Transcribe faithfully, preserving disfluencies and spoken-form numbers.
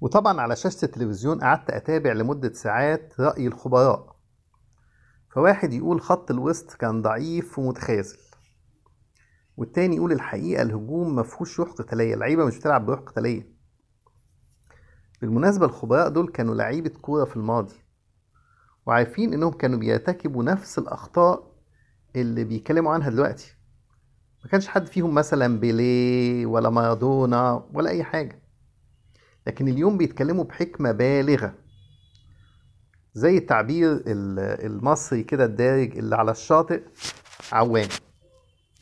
وطبعا على شاشة التلفزيون قعدت أتابع لمدة ساعات رأي الخبراء. فواحد يقول خط الوسط كان ضعيف ومتخاذل، والتاني يقول الحقيقة الهجوم مفهوش روح قتالية، اللعيبة مش بتلعب بروح قتالية. بالمناسبة الخبراء دول كانوا لعيبة كورة في الماضي، وعارفين إنهم كانوا بيرتكبوا نفس الأخطاء اللي بيتكلموا عنها دلوقتي. ما كانش حد فيهم مثلا بيليه ولا مارادونا ولا أي حاجة، لكن اليوم بيتكلموا بحكمة بالغة، زي التعبير ال- المصري كده الدارج اللي على الشاطئ عوام.